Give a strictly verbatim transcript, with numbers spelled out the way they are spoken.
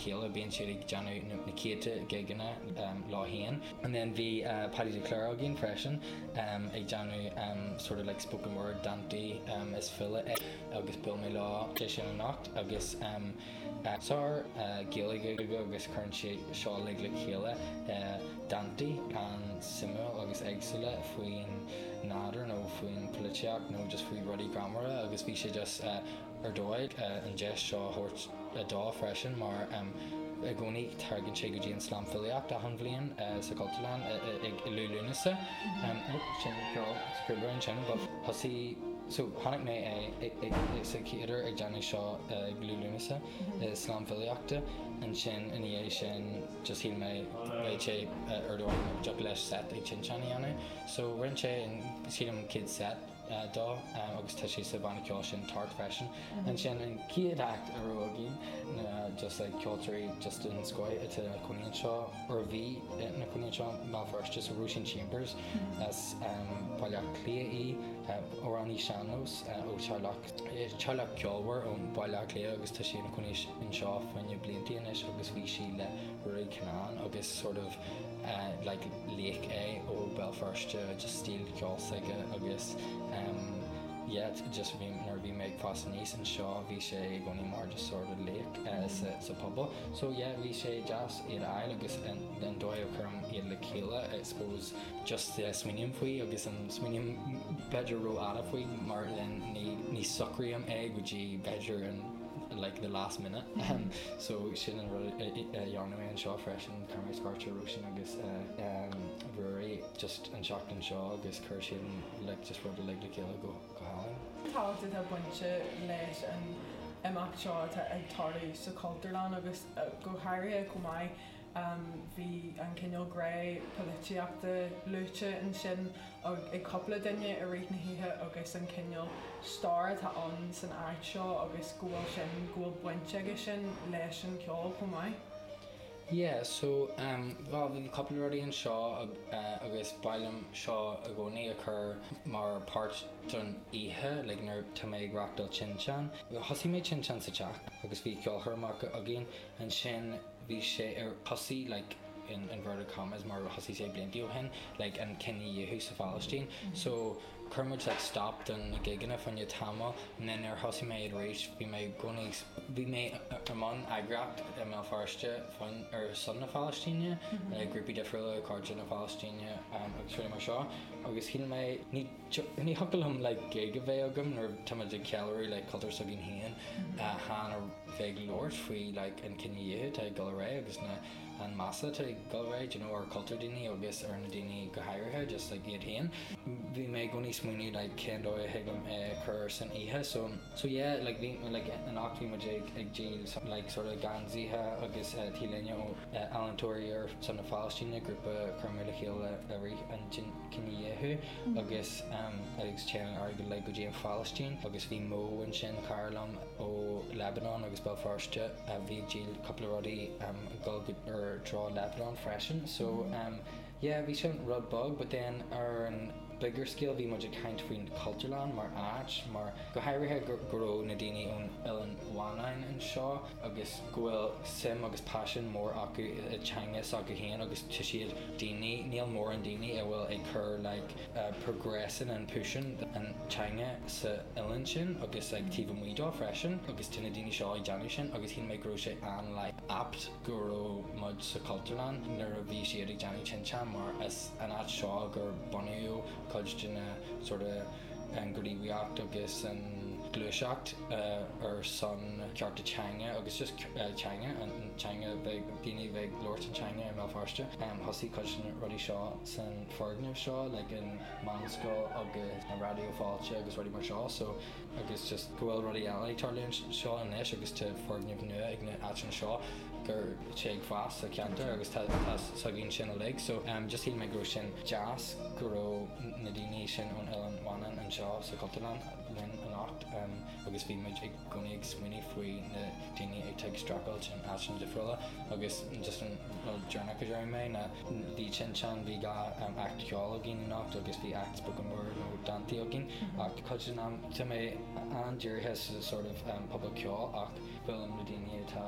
chéile bíonn siad ag déanamh na céadta gigeanna um, leo féin. And then bhí uh, Paddy de Cléir againn freisin um, ag déanamh um, sort of like spoken word dánta um, is file é agus buail mé leo sé sin anocht agus um, uh, sár uh, Gaeilge agus cuireann sé seo le le chéile uh, dánta an-suimiúil agus éagsúla faoin nádúr nó faoin polaitíocht nó just faoi rudaí greannmhara agus bhí sé just uh, ar dóigh uh, an deis seo thabhairt dó freisin mar um, i gcónaí tagann sé go dtí an slam filíocht achan bhliain uh, sa Cultúrlann ag Liú Lúnasa sin ceol sin thosaigh so tháinig mé é sa chéaduair ag déanamh seo ag Liú Lúnasa slam filíochta ansin ina dhiaidh sin just shíl mé bheadh sé ar dóigh just leis set ag Tinteán a dhéanamh. So rinne sé sílim céad set dó agus tá sé sa bhanna ceoil sin tart freisin. Ansin an chéad act a raibh againn na just like ceoltóirí just den scoth atá ina gcónaí anseo or bhí ina gcónaí anseo Béal Feirste so Róisín Chambers as Baile Átha Cliath í amhránaí sean-nós ó teaghlach teaghlach ceolmhar ón Baile Átha Cliath agus tá sí ina cónaí anseo fá choinne blianta anois agus bhí sí le Ruairí Kinnane agus sort of uh, like laoch é ó Béal Feirste just stíl ceoil s'aige agus um, yeah, just bhí nuair bhí mé ag fás aníos anseo bhí sé i gcónaí mar just sort of laoch uh, sa, sa pobal. So yeah, bhí sé deas iad a fháil agus an dóigh a chuirim iad le chéile I suppose just uh, smaoiním faoi agus an smaoiním b'fhéidir ró-fhada faoi mar then ní, ní socraím é go dtí b'fhéidir an like the last minute um, so sin an rud dhéanamh anseo freisin chuir mé scairt ar Róisín agus uh, um, Ruairí just an seachtain seo agus chuir sin like just rud le le chéile go go hálainn. Tábhacht atá bainte leis an imeacht seo atá ag tarlú sa Cultúrlann agus uh, go háirithe chomh maith um, bhí an cineál gré polaitíochta luaite ansin ag cúpla duine i rith na hoíche agus an cineál stair atá ann san áit seo agus go bhfuil sin go bhfuil baint aige sin leis an ceol chomh maith. Yeah, so um, well, bhí cúpla rudaí anseo uh, agus b'áil liom seo i gcónaí a chur mar páirt don oíche like nuair tá mé ag reáchtáil Tinteán. Thosaigh mé Tinteán sa teach agus bhí ceolchoirmeacha againn ansin bhí sé ar thosaigh like in inverted commas mar thosaigh sé blianta ó shin like an cinedhíothú sa Phalaistín. Mm -hmm. So chuir muid like stop don na gigeanna fá choinne tamall and then ar thosaigh mé arís bhí mé i gcónaí bhí mé ar mbun eagraíocht i mBéal Feirste faoin ar son na Palaistíne, mm -hmm. grúpaí difriúla cairde na Palaistíne um, agus rudaí mar seo agus shíl mé ní ní thiocfadh liom like gig a bheith agam nuair tá ag ceiliúradh like cultúr s'againn féin chan a bheith ag labhairt faoi like an cinedhíothú atá ag dul ar aghaidh agus na an measa atá ag dul ar aghaidh you know, ar cultúr daoine agus ar na daoine go háirithe just like iad féin. Bhí mé i gcónaí smaoineamh like cén dóigh a thig liom é chur san oíche so so yeah like bhí like anocht bhí muid ag ag díol like sort of geansaithe agus uh, T-léine ó uh, Ealaíontóirí ar son na Palaistíne grúpa chuir mé le chéile i rith an cinedhíothú mm. agus um, agus téann airgead le go dtí an Phalaistín agus bhí Mo ansin cara liom ó Lebanon agus Béal Feirste uh, bhí ag díol cúpla rudaí um, dul ar treo Lebanon freisin so um, yeah bhí sin rud beag but then ar an bigger scale bhí muid ag caint faoin Cultúrlann mar áit mar go háirithe go go raibh na daoine ón Oileán Mhanann anseo agus go bhfuil suim agus paisean mór acu i teanga s'acu féin agus tá siad daoine níl mórán daoine a bhfuil ag cur like uh, progressing and pushing an teanga sa oileán sin agus like taobh amuigh dó freisin agus tá na daoine seo ag déanamh sin agus shíl mé go raibh sé an like apt go raibh muid sa Cultúrlann nuair a bhí siad ag déanamh Tinteán mar is an áit seo gur bunaíodh cuid de na sort of an ghníomhaíocht agus an gluaiseacht uh, ar son cearta teanga agus just uh, teanga an teanga bheith daoine bheith labhairt an teanga i mBéal Feirste. Um, thosaigh cuid de na rudaí seo san foirgneamh seo like an meánscoil agus an Raidió Fáilte agus rudaí mar seo so agus just go bhfuil rudaí eile ag tarlú seo anois agus tá foirgneamh nua ag na áiteanna seo gur sé ag fás sa cheantar agus tá s'againn sin uilig so um, just shíl mé go raibh sin deas go raibh na daoine sin ón Oileán Mhanann anseo sa Cultúrlann linn anocht um, agus bhí muid i gcónaí ag smaoineamh faoi na daoine ag ag streachailt in áiteanna difriúla agus just an rud deireanach a deir mé na bhí Tinteán bhí dhá um, act ceoil againn anocht agus bhí act spoken word nó dánta againn ach cuid den am tá mé an-dírithe sa sort of um, pobal ceoil ach bhfuil na daoine atá